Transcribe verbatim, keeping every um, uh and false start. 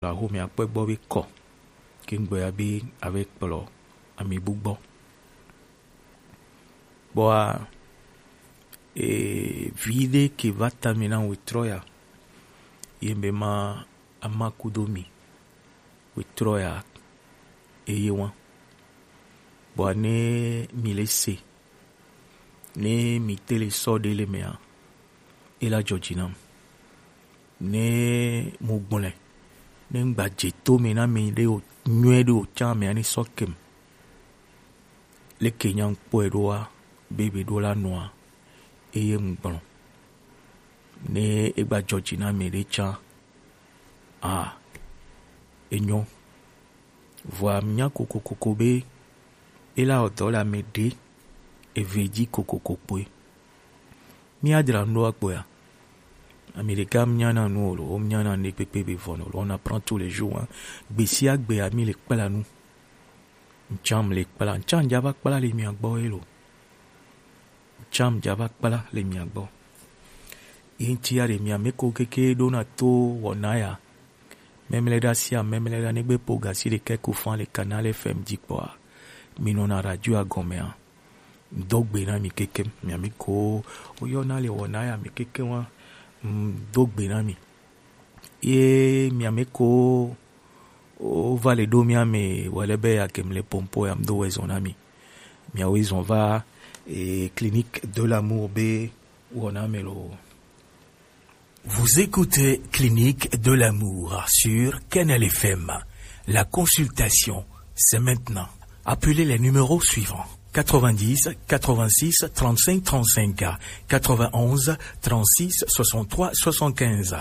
la xo mi akpɔ gbɔ be kɔ ke gbɔ ya be ave kplɔ ami bu gbɔ. Bɔa, e, vi ɖe ke va ta mi na wetrɔ ya, ye be ma ama kudo mi wetrɔ ya eye wa. Bɔa ne mi le se, ne mi te le sɔ ɖe le mea, e la jɔ dzi nam. Ne mo gblɔe, ne ŋgba dze to me na mi ɖe o nyuie ɖe o tsã mea ne sɔ kem. Leke nya ŋkpɔe ɖoa, be be ɖo la nɔa, eye ŋgblɔ. Ne egba jɔ dzi na mi ɖe tsã, a, enyo. Vɔa mnya kokokoko be ela odɔ le ame ɖe eve dzi kokoko kpoe. Mía dzra nu ɖo akpɔa? Ame ɖeka mnya na nu o lo, mnya na ne kpekpe be vɔ no lo, on apprend tous les jours, hein. Gbe sia gbe ami le kpla nu. Ntsam le kpla, ntsam dza va kpla le mia gbɔ ye lo. Ntsam dza va kpla le mia gbɔ. Ye ŋuti ya ɖe mia me ko keke ɖo na to wɔna ya. Memle ɖa sia memle ɖa negbe po gasi ɖe ke ko fan le Canal F M dzi kpɔa. Mi nɔ na radio agɔmea. Do gbe na mi keke, mia me ko woyɔna le wɔna ya me keke wa. Mm, do gbe na mi. Ye mia me ko wova le ɖo mia me wale be ya kem le pompo ya do wezɔn na mi. Mia wezɔn va, eh, Clinique de l'amour be wɔna me lo. Vous écoutez Clinique de l'amour sur Canal F M. La consultation, c'est maintenant. Appelez les numéros suivants: quatre-vingt-dix, quatre-vingt-six, trente-cinq, trente-cinq, quatre-vingt-onze, trente-six, soixante-trois, soixante-quinze.